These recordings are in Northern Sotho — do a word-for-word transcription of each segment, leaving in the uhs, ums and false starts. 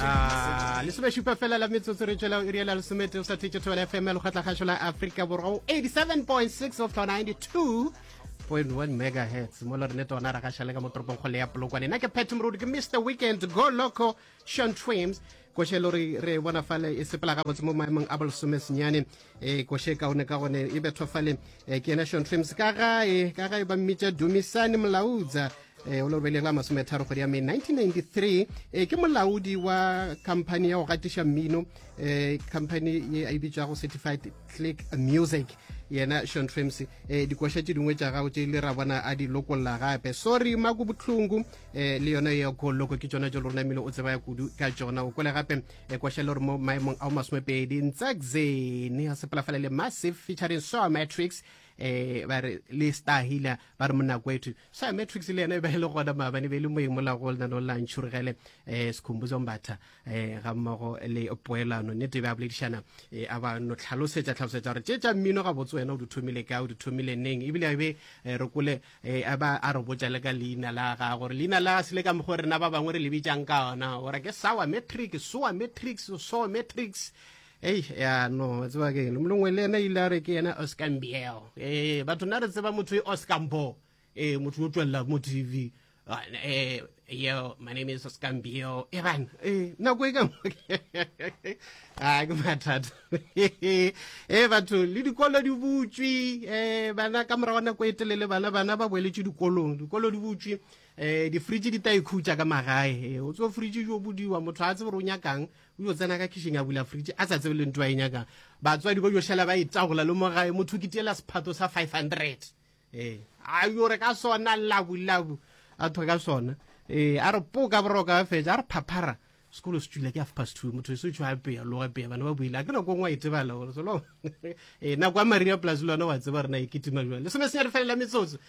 Ah, lesomešupa fela la metsotso re tšwela iri ya lesomete o sa thetše Thobela F M ya lekgotlakgašo la Afrika Borwa go eighty-seven point six of ninety-two point one megahertz. Mo le rene tona ra gaša le ka mo toropong kgolo ya Polokwane. Nna ke Pat Moruti, ke Mister Weekend Go Loco Sean Trims. Koše le re re bona fale e sepela gabotse mo maemong a bolesome senyane. E koše kaone ka gone e bethwa fale, e, ke yena Sean Trims. Ka gae, ka gae ba mmitša Dumisani Molaudza. E, o le robele la masometharo kgwedi ya May nineteen ninety-three. E, ke molaodi wa company ya go gatiša mmino, e, company ye a e bitšwago Certified Click Music. Yena Sean Trims, e, dikoša tše dingwe tša gago tše ile ra bona a di lokolla gape. Sorry Maku Bohlungu, e, le yona ya Go Loco ke tšona tše le rona mmino o tseba ya kudu ka tšona. O kwele gape, e, koša le gore mo maemong ao masomepedi Ntsakzeni a sepela fale le Massive featuring Soa Matrix, eh, ba re le Star Healer ba re monna kwethu. Soa Matrix le yena e be e le gona maabane, e be e le moeng mola go lena la ntšhurugele, eh, Sikhumbuzo Mbatha, eh, ga mmogo le Poelano. Nnete e be a boledišana, eh, a ba no tlhalosetša, tlhalosetša gore tše tša mmino gabotse wena o di thomile kae, o di thomile neng, ebile a be, eh, re kole, eh, a ba a re botša le ka leina la gagwe, gore leina la se le ka mokgwa rena ba bangwe re le bitšang ka ona, gore ke Sour Matrix, Soa Matrix, Soa Matrix. Ei, ya, no, wa tseba ke eng? Molongwe le yena ile a re ke yena Oscar Mbiel. Eh, batho nna re tseba motho e Oscar Mbo. Eh, motho o tšwelela mo T V. Ah, eh, yo, my name is Oscar Mbiel. Eh, bana, eh, nako e ka mo. Ah, ke mathata. Eh, batho, le dikolo di butšwe. Eh, bana ka morago ga nako e telele, bana, bana ba boeletše dikolong. Dikolo di butšwe. Eh, di-fridge di tla ikhutša ka magae. Eh, o tswa fridge jo bodiwa, motho a tsebe gore o nyakang, o yo tsena ka kitchen a bula fridge, a sa tsebe le ntho a e nyakang. Batswadi ba yo šala ba e tagola le mo gae, motho o kitiela sephato sa five hundred. Eh, a yo re ka sona labu labu, a thwe ka sona. Eh, a re poka boroka ba fetša, a re phaphara. Sekolo se tšwile ke half past two, motho e se tšwa pea, loga pea, bana ba buile. A ke nako e nngwe a itebala gore solo. Eh, nako ya Maria Plus le yona wa tseba rena e kitima jwang. Lesome senyane fela la metsotso.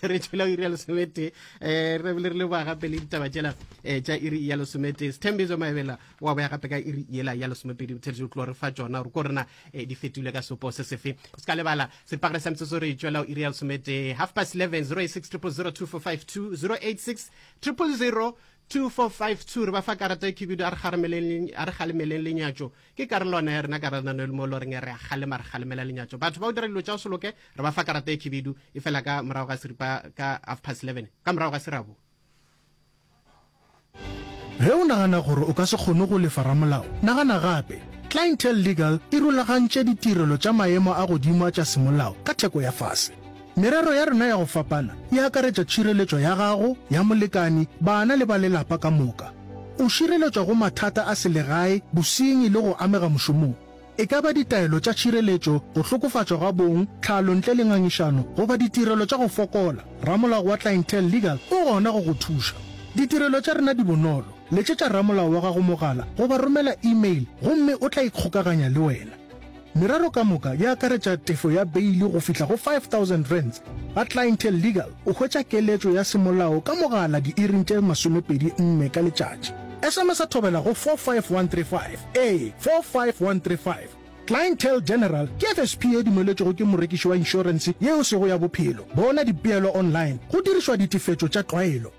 Re tšwela iri ya lesometee. Eh, re bile re leboga gape le ditaba tšela, eh, tša iri ya lesometee. Sithembiso Maebela wa boya gape ka iri yela ya lesomepedi. Botheletši o tlo re fa tšona gore ko rena, eh, di fetile ka sepo se sefe. O se ka lebala sepagare sa metsotso re tšwela iri ya lesometee. Half past eleven, zero eight six triple zero two four five two, zero eight six triple zero two four five two. Re ba fa karata e khibidu, a re kgaremeleng, a re kgalemeleng lenyatšo. Ke karolwana ya rena ka rena le mo lo reng re a kgalema, re kgalemela lenyatšo. Batho ba o dira dilo tša go se loke, re ba fa karata e khibidu e fela ka morago ga seripa ka half past eleven, ka morago ga serabo. Ge o nagana gore o ka se kgone go lefa ramolao, nagana gape. Clientele Legal e rulagantše ditirelo tša maemo a godimo a tša semolao ka theko ya fase. Merero ya rena ya go fapana e akaretša tšhireletšo ya gago, ya molekani, bana le ba lelapa ka moka. O šireletšwa go mathata a selegae, bosenyi le go amega mošomong. E ka ba ditaelo tša tšhireletšo, go hlokofatšwa ga bong, tlhalo ntle le ngangišano, goba ditirelo tša go fokola, ramolao wa Clientele Legal o gona go go thuša. Ditirelo tša rena di bonolo. Letšetša ramolao wa gago mogala goba romela email gomme o tla ikgokaganya le wena. Merero ka moka e akaretša tefo ya beili go fihla go five thousand rands. Ga Clientele Legal o hwetša keletšo ya semolao ka mogala diiring tše masomepedi nne ka letšatši. S M S a thobela go four five one three five, ee, four five one three five. Clientele General ke F S P e dumeletšwego ke morekiši wa inšorense ye e sego ya bophelo. Bona dipeelo online go dirišwa ditefetšo tša tlwaelo.